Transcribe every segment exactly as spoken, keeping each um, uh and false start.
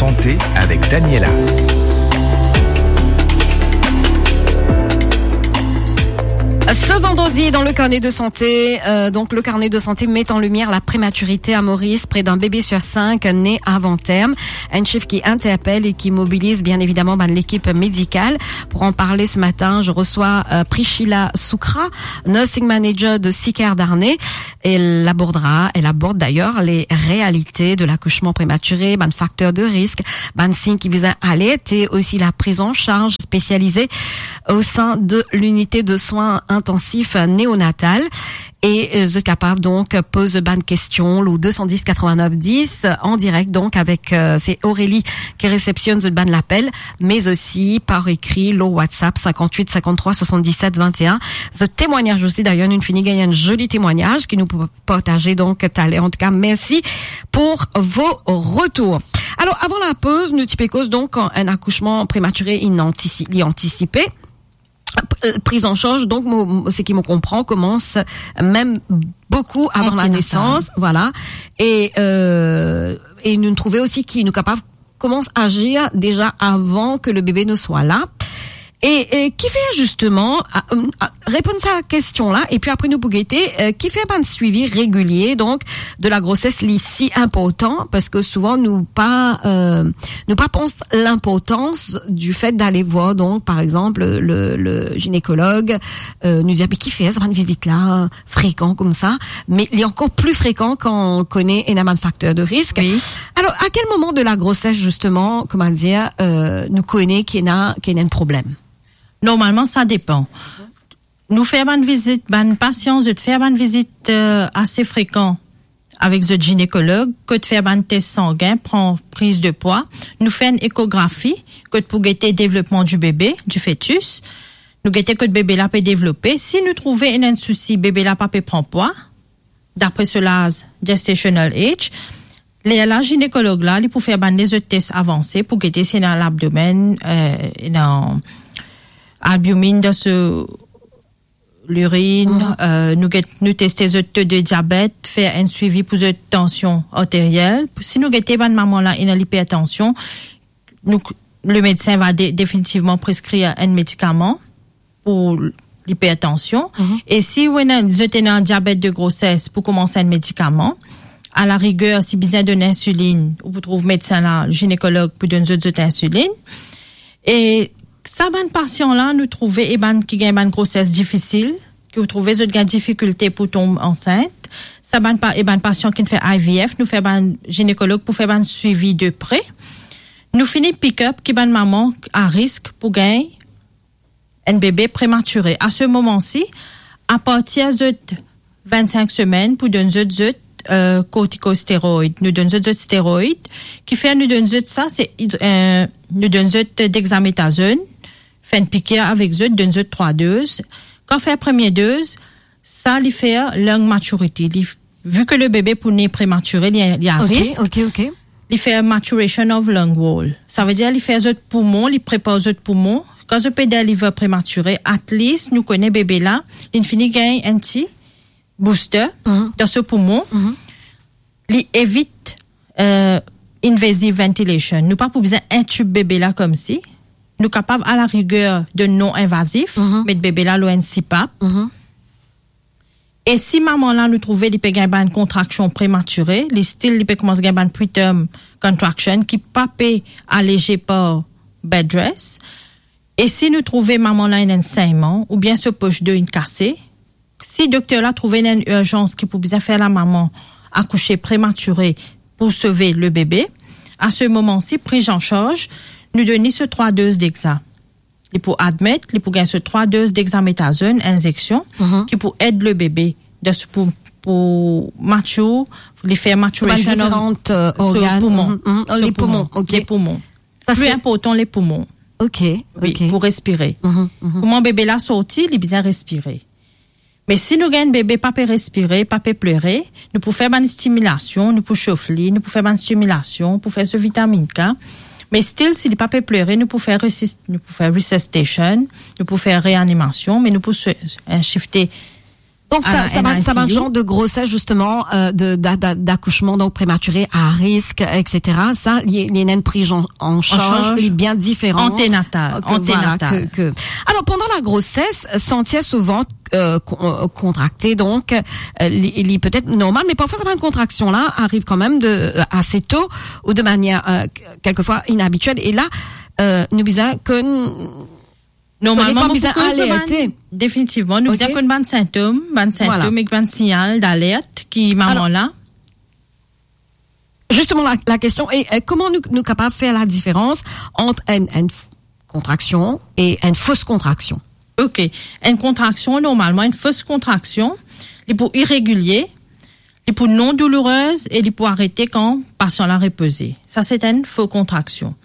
Santé avec Daniela. Ce vendredi, dans le carnet de santé, euh, donc le carnet de santé met en lumière la prématurité à Maurice. Près d'un bébé sur cinq naît avant terme. Un chiffre qui interpelle et qui mobilise bien évidemment, ben, l'équipe médicale. Pour en parler ce matin, je reçois, euh, Priscilla Soukra, nursing manager de Sicare Darney. Elle abordera, elle aborde d'ailleurs les réalités de l'accouchement prématuré, bann facteurs de risque, bann sign ki bizin alerte, et aussi la prise en charge spécialisée au sein de l'unité de soins intensifs néonatal. E, euh, zot kapav donk poz bann kestion lor deux cent dix quatre-vingt-neuf dix, euh, en direct, donc avec, euh, c'est Aurélie qui réceptionne zot bann lapel, mais aussi par écrit lor WhatsApp cinquante-huit cinquante-trois soixante-dix-sept vingt et un. Zot temwagnaz aussi, d'ailleurs, nou fini gagn enn zoli temwagnaz ki nou pou partaze, donc, taler. En tout cas, merci pour vos retours. Alors, avant la pause, nou ti pe koz, donc, un accouchement prématuré inantisi-, li antisipe. Euh, prise en charge, donc, mo, mo, seki mo konpran, commence même beaucoup avant la naissance, voilà. Et, euh, et nou trouve aussi ki nou kapav commence à agir déjà avant que le bébé ne soit là. E, e kifer, justement, a, a, reponn sa kestion la, epi apre nou pou gete, euh, kifer bann suivi régulier, donc, de la grossesse, li si inportan, parski souvan nou pa, euh, nou pa pans linportans du fait d'aller voir, donc, par exemple, le, le gynécologue, euh, nou dir, "Me kifer sa bann vizit la frekan koumsa?" Me li ankor pli frekan kan nou kone ena bann facteurs de risque. Oui. Alors, à quel moment de la grossesse, justement, kouma dir, euh, nou kone ki ena, ki ena enn problem? Normalman, sa depan. Nou fer bann vizit, bann pasian, zot fer bann vizit, euh, ase frekan avek zot ginekolog, kot fer bann tes sangin, pran priz de pwa, nou fer enn ekografi, kot pou gete devlopman di bebe, di fetis, nou gete kot bebe la pe devlope. Si nou trouve ena enn sousi, bebe la pa pe pran pwa, dapre so laz, gestational age, lerla ginekolog la, li pou fer bann lezot tes avanse pou gete si ena labdomenn, euh, ena albumin dan so lirinn, euh, nou get, nou teste zot to de diabet, fer enn suivi pou zot tansion arteriel. Si nou gete bann mama la ena lipertansion, nou, le medsin va de-, definitivman preskrir enn medikaman pou lipertansion. E si ou ena, zot ena diabet de grosès, pou koumans enn medikaman. A la riger, si bizin donn insilinn, ou pou trouv medsin la, ginekolog pou donn zot, zot insilinn. E sa bann pasian la, nou trouve, e bann ki gagn bann grosès difisil, ki ou trouve zot gagn difikilte pou tom ansint. Sa bann pa-, e bann pasian ki fer I V F, nou fer bann ginekolog pou fer bann suivi de pre. Nou fini pick up ki bann mama a risk pou gagn enn bebe prematire. A se moman si, apartir zot vennsink semenn pou donn zot, zot, euh, kortikosteroid. Nou donn zot, zot steroid. Kifer nou donn zot sa, se, euh, nou donn zot dexamethasone, fer enn pikir avek zot, donn zot trwa doz. Kan fer premie doz, sa li fer lung maturity. Li, vi ke le bebe pou ne prematire, li, li a risk. Ok, ok. Li fer maturation of lung wall. Savedir li fer zot poumon, li prepar zot poumon. Kan zot pe deliver prematire, at least nou kone bebe la, li fini gagn enn ti booster dan so poumon. Li evit, euh, invasive ventilation. Nou pa pou bizin intub bebe la koumsi. Nou kapav a la riger de non invazif, met bebe la lor enn C pap. E si mama la nou trouve li pe gagn bann kontraksion prematire, li still li pe koumans gagn bann preterm contraction ki pa pe aleze par bed rest, e si nou trouve mama la ena enn segnman oubien so poch do inn kase, si dokter la trouve ena enn irzans ki pou bizin fer lamama akouse prematire pou sove le bebe, a se moman si, priz an sarz, nou donn li so trwa doz dexa. Li pou admet, li pou gagn so trwa doz dexamethasone, inzeksion, ki pou ed le bebe dan so pou, pou mature, li fer maturation of diferan, euh, so organ. Poumon. Mhm, mhm. Oh, so le poumon, ok. Le poumon. Sa pli se inportan, le poumon. Ok, oui, ok. Pou respire. Mhm, mhm. Kouma bebe la sorti, li bizin respire. Me si nou gagn bebe pa pe respire, pa pe plere, nou pou fer bann stimilasion, nou pou sof li, nou pou fer bann stimilasion, pou fer so vitamine K. Me still, si li pa pe plere, nou pou fer resis-, nou pou fer resuscitation, nou pou fer reanimasion, me nou pou swe-, euh, shifte Donc, sa, sa bann, sa bann I C U. Genre de grossesse, justement, euh, de, d'a-, d'a-, d'accouchement, donc prématuré, à risque, et cetera. Sa, li, li ena enn priz an, an charz, li bien diferan. Anténatal, voilà, anténatal. Alor, pandan la grosès, santi so vant, euh, kon-, euh, kontrakte, donk, euh, li, li petet normal, me parfwa sa bann kontraksion la ariv kanmem de, euh, ase to ou de manier, euh, k-, kelkefwa inabitiel. E la, euh, nou bizin konn Normalman, nou bizin alerte. Definitivman, nou bizin konn bann sintom, bann sintom ek bann signal d'alerte ki mama la. Alor, justement, la, la kestion e, e, kouma nou, nou kapav fer la diferans ant enn, enn f-, kontraksion e enn fos kontraksion? Ok. Enn kontraksion, normalman, enn fos kontraksion, li pou iregilie, li pou non doulourez e li pou arete kan pasian la repoze. Sa se enn fo kontraksion.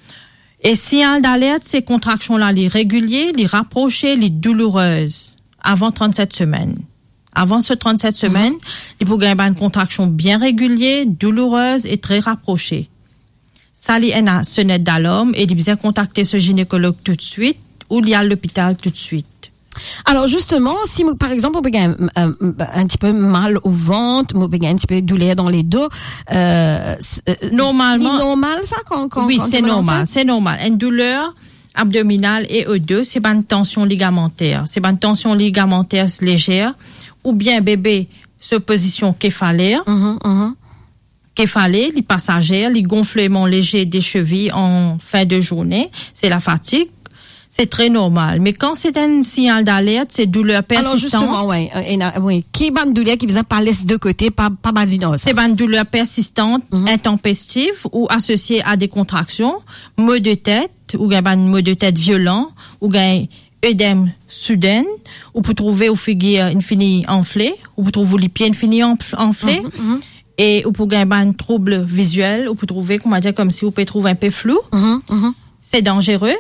E signal d'alerte, se kontraksion la, li regilie, li raprose, li doulourez avan trannset semenn. Avan so trannset semenn, li pou gagn bann kontraksion bien regilie, doulourez e tre raprose. Sa li ena sonet dalarm e li bizin kontakte so ginekolog toutswit ou li al lopital toutswit. Alor, justement, si mo, par exanp, mo pe gagn, euh, un petit peu mal au ventre, mo pe gagn un petit peu douleur dans le dos, euh, s-, euh, normalman, li normal sa, kan, kan, wi, kan se normal, se normal. Enn douler abdominal e o do, se bann tansion ligamanter. Se bann tansion ligamanter lezer, oubien bebe so pozision kefaler. Mhm, mhm. Kefale, li pasazer, li gonfleman lezer de sevi an fin de zourne, se la fatig, se tre normal. Me kan se enn signal d'alerte, se douler persistan. Alor, justement, wi, euh, ena, wi. Ki bann douler ki bizin pa les de kote, pa, pa badin dan sa? Se bann douler persistan, mhm, intanpestif ou asosie a de kontraksion, mo de tet, ou gagn bann mo de tet violan, ou gagn edem souden, ou pou trouve ou figir inn fini anfle, ou pou trouve ou lipie inn fini anf-, anfle, mhm, mhm, e ou pou gagn bann troub viziel, ou pou trouve, koumadir, koumsi ou pe trouv inpe flou. Mhm, mhm. Se danzere.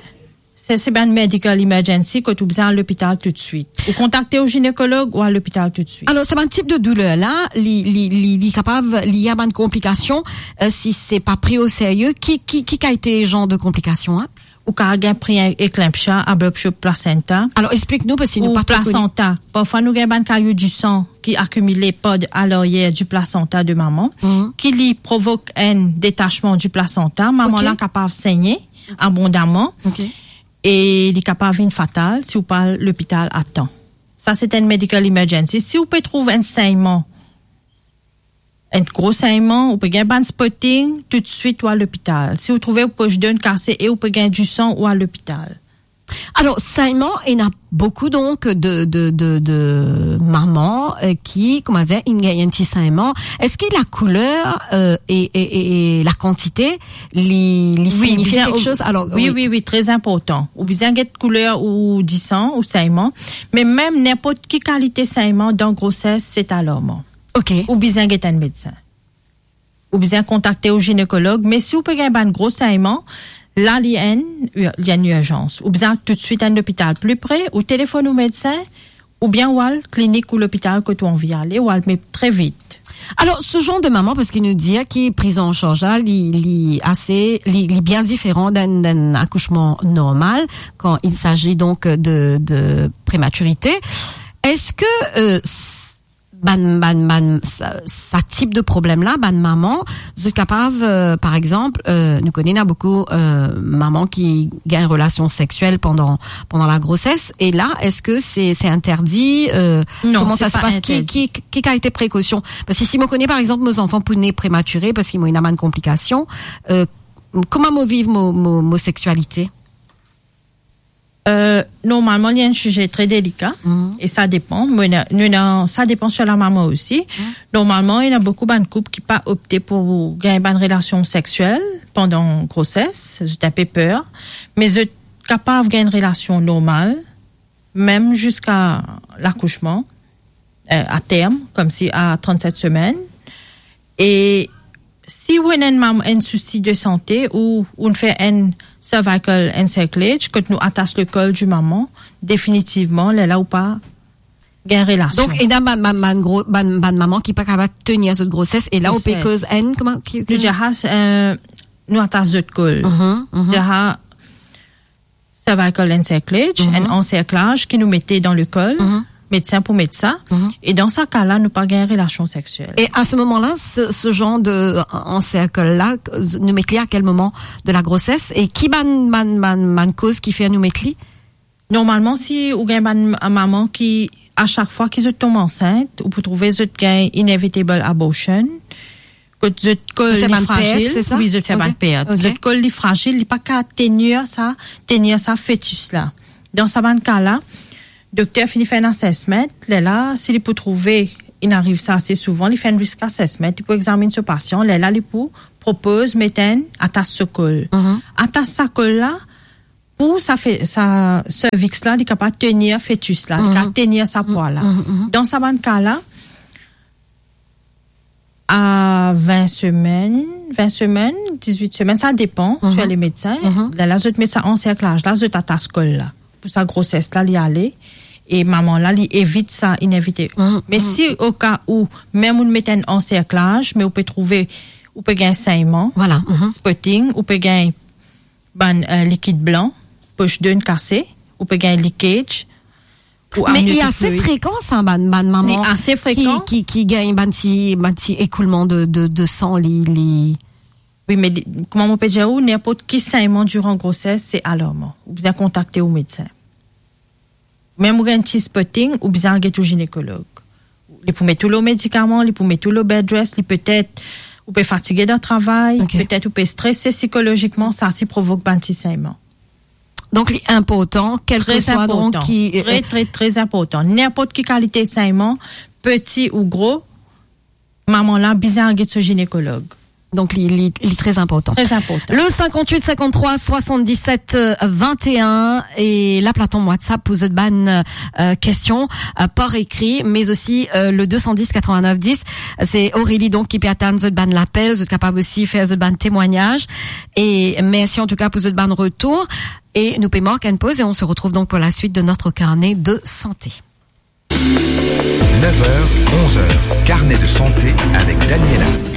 Se, se bann medical emergency kot ou bizin al lopital toutswit. Ou kontakte ou ginekolog ou al lopital toutswit. Alor, sa bann tip de douler la, li, li, li, li kapav, li ena bann konplikasion, euh, si se pa pri o serye, ki, ki, ki kalite zanr de konplikasion, hein? Ou kapav gagn pri en-, eklenpsia, abruptio placenta. Alor, explik nou, parski nou pa tro kone. Ou plasenta. Parfwa, nou gagn bann kayo disan ki akimile par de, a laryer di plasenta de mama, mhm, ki li provok enn detasman di plasenta. Mama, ok, la kapav segne abondaman. Ok. E li kapav vinn fatal si ou pa al lopital a tan. Sa, se enn medical emergency. Si ou pe trouv enn segnman, enn gro segnman, ou pe gagn bann spotting, toutswit ou al lopital. Si ou trouve ou poz do inn kase e ou pe gagn disan, ou al lopital. Alor, segnman, ena boukou, donk, de, de, de, de mama, euh, ki, koumadir, inn gagn enn ti segnman. Eski la kouler, euh, e, e, e, e la kantite, li, li signifie kiksoz? Wi, bizin, alor, wi, wi, wi, tre inportan. Ou bizin get kouler ou disan ou segnman, me mem ninport ki kalite segnman dan groses, se alarman. Ok. Ou bizin get enn medsin. Ou bizin kontakte ou ginekolog, me si ou pe gagn bann gro segnman, la li enn, li enn irzans. Ou bizin toutswit enn lopital pli pre, ou telefonn ou medsin, oubien ou al klinik ou lopital kot ou anvi ale, ou al, me tre vit. Alor, se zanr de mama, parski nou dir ki priz an sarz la, li, li ase, li, li bien diferan dan, dan akousman normal, kan il s'agit donc de, de prématurité. Eski, euh, s-, bann, bann, bann, sa, sa tip de problem la, bann mama, zot kapav, euh, par exanp, euh, nou kone ena boukou, euh, mama ki gagn relasion sexiel pandan, pandan la groses, e la, eski se, se interdi, euh, Non, kouma sa se pas? Ki, ki, ki kalite prekosion? Parski si mo kone, par exanp, mo zanfan pou ne prematire, parski mo ena bann konplikasion, euh, kouma mo viv mo, mo, mo sexualité? Euh, normalman, li enn size tre delika, mhm, e sa depan. Mo ena, nou ena, sa depan sir la mama osi. Mhm. Normalman, ena boukou bann koup ki pa opte pou gagn bann relasion sexiel pandan groses, zot inpe per, me zot kapav gagn relasion normal, mem ziska lakousman, euh, a term, koumsi a trannset semenn. E si ou ena enn mam-, enn sousi de sante, ou, ou fer enn cervical encerclage, kot nou atas lekol di mama, definitivman, lerla ou pa gagn relasion. Donk, ena bann, bann, bann gro, bann, bann mama ki pa kapav tenir zot groses, e la ou pe koz enn, kouma, ki, ki? Nou dir, euh, nou atas zot kol. Mhm, mhm. Dir, cervical encerclage, mhm, enn anserklaz ki nou mete dan lekol, mhm, medsin pou met sa. Mhm. E dan sa ka la, nou pa gagn relasion seksiel. Et à ce moment-là, ce, ce genre de, en cercle-là, nou met li à quel moment de la grossesse? Et ki bann, bann, bann, bann koz ki fer nou met li? Normalman, si ou gagn bann mama ki, a sak fwa ki zot tonm ansint, ou pou trouve zot gagn inevitable abortion, kot zot kol li frazil, se sa? Wi, zot fer bann pert. Ok. Zot kol li frazil, li pa kapav tenir sa, tenir sa fetis la. Dan sa bann ka la, dokter fini fer enn assessment, lerla, si li pou trouve, inn ariv sa ase souvan, li fer enn risk assessment, li pou examinn so pasian, lerla li pou propoz met enn atas so kol. Mhm. Atas sa kol la, pou sa fe-, sa cervix la, li kapav tenir fetis la, li kapav tenir sa pwa la. Mhm, mhm. Dan sa bann ka la, a vin semenn, vin semenn, dizwit semenn, sa depan, mhm, sir le medsin. Mhm. Lerla zot met sa anserklaz la, zot atas kol la. Pou sa groses la, li ale, e mama la, li evit sa inevite. Mhm, mhm. Me si o ka ou, mem ou met enn anserklaz, me ou pe trouve, ou pe gagn segnman, voilà, mhm, spotting, ou pe gagn bann, euh, likid blan, poch donn kase, ou pe gagn leakage, ou amniotike fluid. Me li ase frekan sa, bann, bann mama ki, ki, ki gagn bann ti, bann ti ekoulman de, de, de san, li, li... Wi, me li, kouma mo pe dir ou, ninport ki segnman diran groses, se alarman. Ou bizin kontakte ou medsin. Mem ou gagn ti spotting, ou bizin al get ou zinekolog. Li pou met ou lor medikaman, li pou met ou lor bed rest, li petet ou pe fatige dan travay, ok, petet ou pe strese sikolozikman, sa si provok bann ti segnman. Donk, li inportan, kelseswa, donk, ki, euh, tre, tre, tre inportan. Ninport ki kalite segnman, piti ou gro, mama la bizin al get so zinekolog. Donk, li, li, li tre inportan. Tre inportan. Le cinquante-huit cinquante-trois soixante-dix-sept vingt et un, e la plateforme WhatsApp pou zot bann, euh, kestion, euh, par ekri, me osi, euh, le deux cent dix quatre-vingt-neuf dix. Se Aurélie, donk, ki pe atann zot bann lapel, zot kapav osi fer zot bann temwagnaz. E mersi an tou ka pou zot bann retour. Et nous payons une pause et on se retrouve donc pour la suite de notre carnet de santé. Neuf heures, onze heures, carnet de santé avec Daniela.